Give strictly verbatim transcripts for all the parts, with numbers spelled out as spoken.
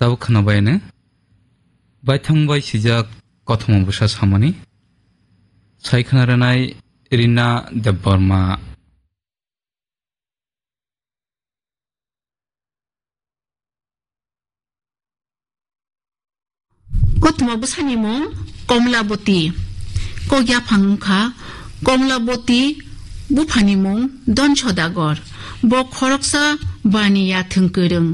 Tabuk khwnabaino baithang bai swijak kothoma bwsa samani sai khwna rwnai Rina Debbarma. Kothoma bwsani mung Komlaboti. Kok yaphang wngkha Komlaboti buphani mung Don Sodagor. Bo khoroksa baniya thwngkwrwng.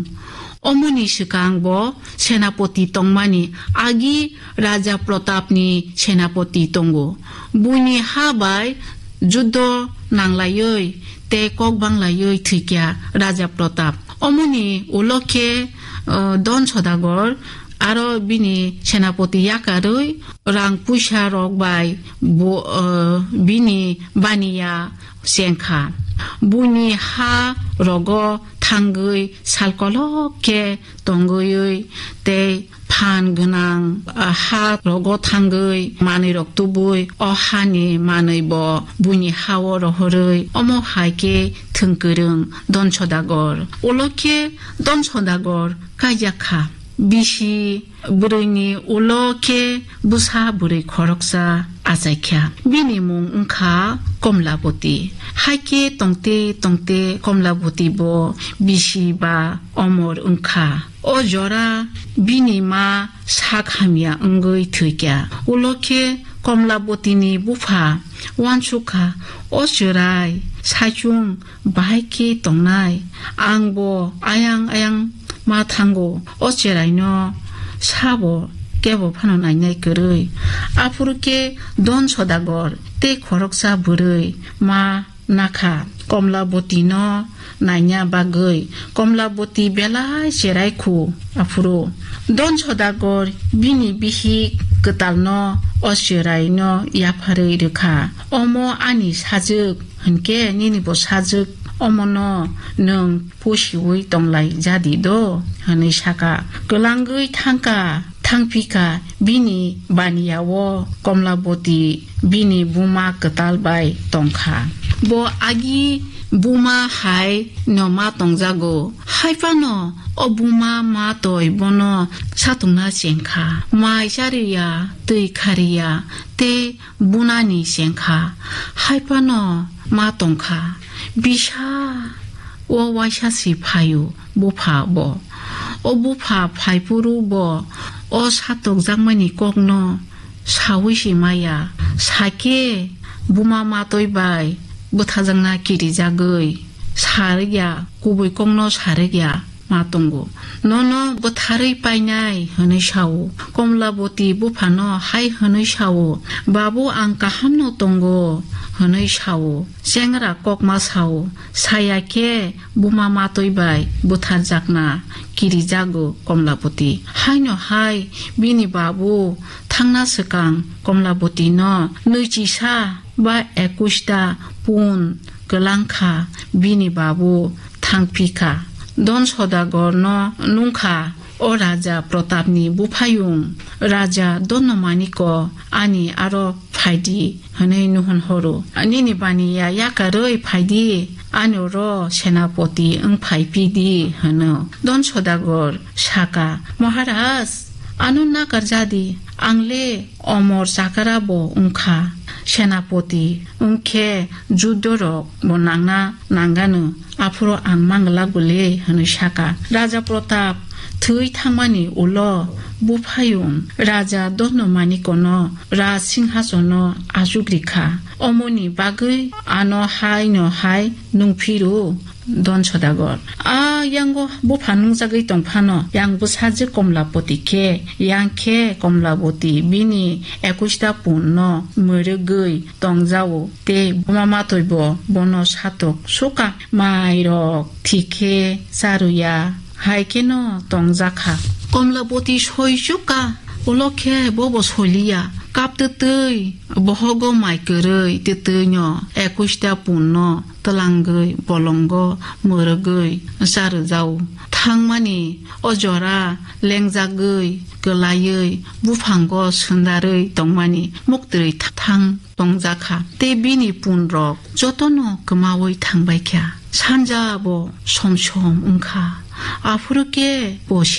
Omoni swkang bo senapoti tongmani agi Raja Pratapni senapoti tongo. Buini ha bai juddo nanglaiwi tei kok banglaiwi thwikya Raja Pratap. Omoni ulo khe, uh, Don Sodagor aro bini senapoti yakarwi rang puisa rok bai bo, uh, bini baniya chengkha. Buini ha rogo thangwi sal kolok khe tongwi tei phan gwnang, ah, ha rogo thangwi manwi rok tubui o hani manwi bo buini hao rohorwi omo hai khe thwngkwrwng Don Sodagor. Ulo khe Don Sodagor kaijakha. Bisi bwrwini ulo khe bwsa bwrwi khoroksa achaikha. Bini mung wngkha Komlaboti. Haikhe tongte tongte Komlaboti bo bisi ba omor wngkha. O jora bini ma sak hamya wngwi thwikha. Ulo khe Komlabotini bupha uansukha, "O chwrai, saichung bahai khe tongnai. Ang bo ayang ayang ma thango, o chwraino sabo kebo phano nainai kwrwi." Aphuru khe Don Sodagor tei khoroksa bwrwi ma nakha Komlabotino naina bagwi. Komlaboti belai cherai khu aphuru. Don Sodagor bini bihik kwtalno o chwraino yapharwi rwkha, "Omo ani sajwk, hinkhe nini bo sajwk, omono nwng pusiwi tonglai jadi do?" hwnwi saka. Kwlangwi thangkha, thangphikha bini baniya-o Komlaboti bini buma kwtal bai tongkha. Bo agi buma hai no ma tongjago. Haiphano o buma ma toi bono satungna chengkha. Mai chariya, twi khariya, tei bunani chengkha, haiphano ma tongkha. Bisa o waisa si phaio bupha bo. O bupha phaiphuru bo o satokjakmani kokno saui si maya. Sakhe buma matoi bai bwthajakna kirijagwi sarikya, kubui kokno sarikya ma tongo. Nono bwtharwi painai hwnwi sao. Komlaboti buphano hai hwnwi sao, "Babu, ang kahamno tongo," hwnwi sao. Chengra kokma sao, saya khe buma matoi bai bwtharjakna kirijago Komlaboti. Haino hai bini babu thangna swkang Komlabotino nwichisa ba ekusta pun kwlangkha bini babu thangphikha. Don Sodagorno nungkha, "O Raja Pratapni buphayung, Raja Donomaniko ani aro phaidi," hwnwi nuhun horo. "Nini baniya yakarwi phaidi, ani oro senapoti wng phai pidi," hwno. Don Sodagor saka, "Maharaj, ano nakar jadi, ang le omor chakara bo wngkha, senapoti wngkhe juddo rok bo nangna nangano, aphuru ang mangla gule," hwnwi saka. Raja Pratap thwi thangmani ulo buphayung Raja Donomanikono raj singhasono achukrikha. Omoni bagwi ano hai no hai nungphiru Don Sodagor. A yango bupha nungjagwi tongphano, yang bwsajwk Komlapoti khe, yang khe Komlapoti bini ekusta punno mwrwgwi tongjao, tei buma matwi bo bono satok suka. Mairok thik khe charuya, hai kheno tongjakha. Komlapoti soi chuka, ulo khe bobo soliya. Kap twtwi bohogo mai kwrwi twtwino ekusta punno twlangwi bolongo mwrwgwi charwjao. Thangmani o jora lengjagwi kwlaiwi buphango sundarwi tongmani muktwi thang tongjakha. Tei bini punrok jotono kwmawi thangbaikha. Sanja bo som som wngkha. Aphuru khe bo si